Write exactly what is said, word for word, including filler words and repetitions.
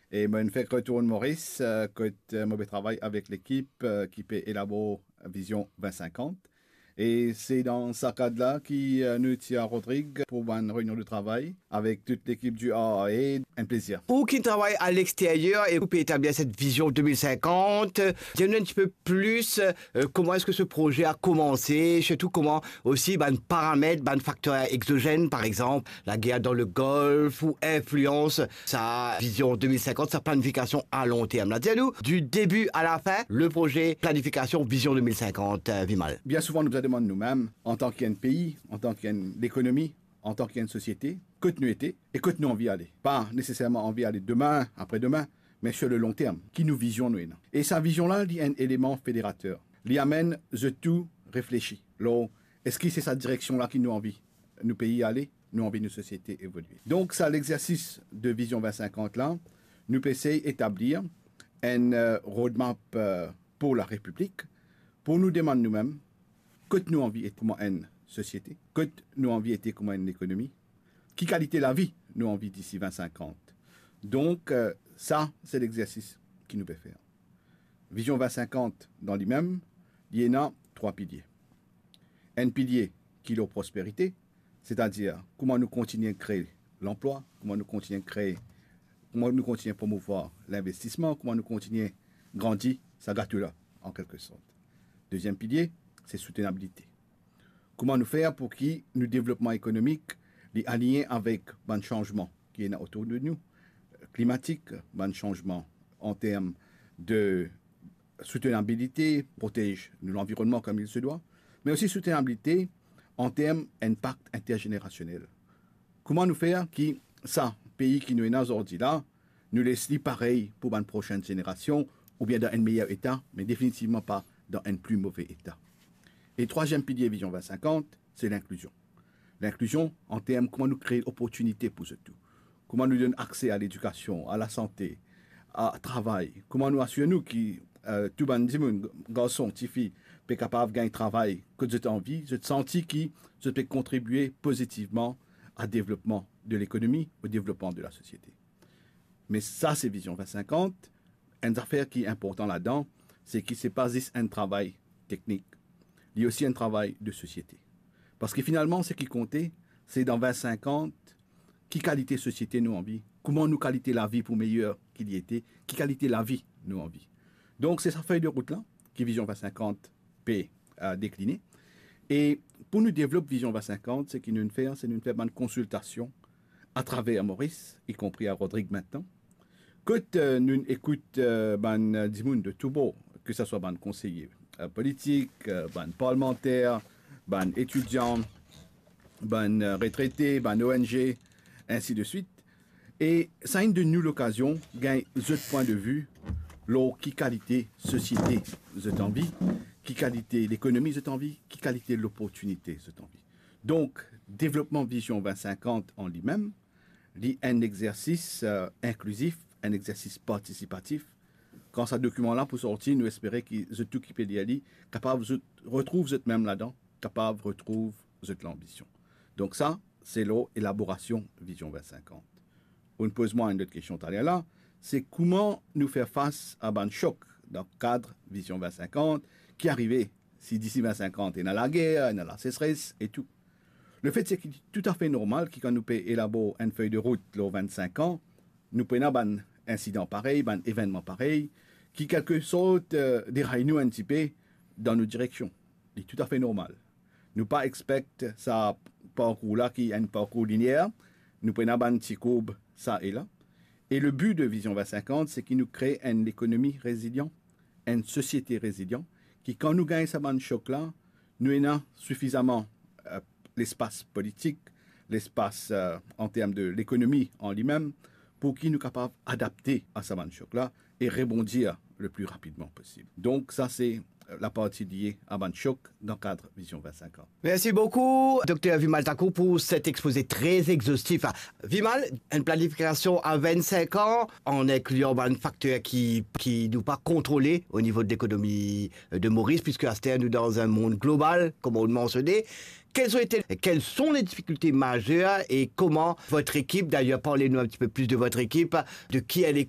E mo fek retourn Moris, eh, kot, eh, mo pe travay avek lekip, eh, ki pe elabor Vision vingt cinquante. E se dan sa kad la ki, eh, nou ti a Rodrig pou bann reynion de travay avek tout lekip du R R A. Enn plezir. Ou ki travay a lexteryer e ou pe etablir set Vision deux mille cinquante, dir nou enn tipe plis, eh, kouma eski se proze a koumanse, sirtou kouma osi bann paramet, bann fakter exozenn, par exanp, lager dan le Golf ou inflians sa Vision deux mille cinquante, sa planifikasion a lon term la. Dir nou, du début à la fin, le proze planifikasion Vision deux mille cinquante, eh, Vimal. Bien souvan, nou bizin demann noumem, antan ki enn pei, antan ki enn lekonomi, antan ki enn sosiete, kot nou ete e kot nou anvi ale. Pa neseserman anvi ale demin, apre demin, me sur le long terme, ki nou vizion nou ena. E sa vizion la, li enn eleman federater. Li amenn zot tou reflesi lor eski se sa direksion la ki nou anvi nou pei ale, nou anvi nou sosiete evolie. Donk sa lexersis de Vision vingt cinquante la, nou pe sey etablir enn, eh, roadmap, eh, pou la Repiblik, pou nou demann noumem, kot nou anvi ete kouma enn sosiete, kot nou anvi ete kouma enn lekonomi, ki kalite lavi nou anvi disi vingt cinquante. Donk, eh, sa, se lexersis ki nou pe fer. Vision vingt cinquante, dan limem, li ena trwa pilie. Enn pilie ki lor prosperite, setadir kouma nou kontinie kree lanplwa, kouma nou kontinie kree, kouma nou kontinie promouvwar linvestisman, kouma nou kontinie grandi sa gato la, an kelke sort. Deziem pilie, se soutenabilite. Kouma nou fer pou ki nou devlopman ekonomik, li aligne avek bann sanzman ki ena otour de nou, klimatik, bann sanzman an term de soutenabilite, protez nou lanvironnman comme il se doit, me osi soutenabilite an term inpak interzenerasionel. Kouma nou fer ki sa pei ki nou ena zordi la, nou les li parey pou bann prosenn zenerasion, oubien dan enn meyer eta, me definitivman pa dan enn pli move eta. E trwaziem pilie Vision vingt cinquante, se linklizion. Linklizion an term kouma nou kree oportinite pou zot tou. Kouma nou donn akse a ledikasion, a lasante, a travay. Kouma nou asir nou ki, eh, tou bann dimoun, garson, tifi, pe kapav gagn travay kot zot anvi, zot santi ki zot pe kontribie pozitivman a devlopman de lekonomi, o devlopman de lasosiete. Me sa, se Vision vingt cinquante. Enn zafer ki inportan ladan, se ki se pa zis enn travay teknik. Li osi enn travay de sosiete. Parski finalman, seki konte, se dan vingt cinquante, ki kalite sosiete nou anvi, kouma nou kalite lavi pou meyer ki li ete, ki kalite lavi nou anvi. Donk, se sa fey de rout la, ki Vision vingt cinquante pe, eh, dekline. E pou nou devlop Vision vingt cinquante, seki nou fer, se nou fer bann konsiltasion atraver Moris, ikonpri a Rodrig aster, kot, eh, nou ekout, eh, bann, eh, dimoun de tou bor, ke sa swa bann konseye, eh, politik, eh, bann parlmanter, bann etidian, bann, eh, retrete, bann O N G, ensi de swit. E sa inn donn nou lokazion gagn zot pwin de vi lor ki kalite sosiete zot anvi, ki kalite lekonomi zot anvi, ki kalite loportinite zot anvi. Donk, devlopman Vision vingt cinquante an limem, li enn exersis, eh, inklizif, enn exersis partisipatif. Kan sa dokiman la pou sorti, nou espere ki zot tou ki pe lir li, kapav zot retrouv zot mem ladan, kapav retrouv zot lanbision. Donk sa, se lor elaborasion Vision vingt cinquante. Ou'nn poz mwa enn lot kestion taler la, se kouma nou fer fas a bann sok dan kad Vision vingt cinquante ki arive, si disi vingt cinquante ena lager, ena lasesres e tou. Lefet se ki toutafe normal ki kan nou pe elabor enn fey de rout lor vingt cinq an, nou pou ena bann insidan parey, bann evennman parey, ki kelke sort, eh, deray nou enn tipe dan nou direksion. Li toutafe normal. Nou pa expect sa parkour la ki enn parkour linier, nou pou ena bann ti kourb sa e la. E le bi de Vision vingt cinquante, se ki nou kree enn lekonomi rezilian, enn sosiete rezilian, ki kan nou gagn sa bann sok la, nou ena sifizaman, eh, lespas politik, lespas, eh, an term de lekonomi an limem, pou ki nou kapav adapte a sa bann sok la e rebondir le pli rapidman posib. Donk sa se, eh, laparti lie a bann sok dan kad Vision vingt cinq an. Mersi boukou, Dokter Vimal Thakur, pou set expoze tre exostif. Vimal, enn planifikasion a vingt cinq an, an inklian bann fakter ki, ki nou pa kontrole o nivo de lekonomi de Moris, piske aster nou dan enn mond global, kouma ou mansione. Quelles ont été, quelles sont les difficultés majeures et comment votre équipe, d'ailleurs, parlez-nous un petit peu plus de votre équipe, de qui elle est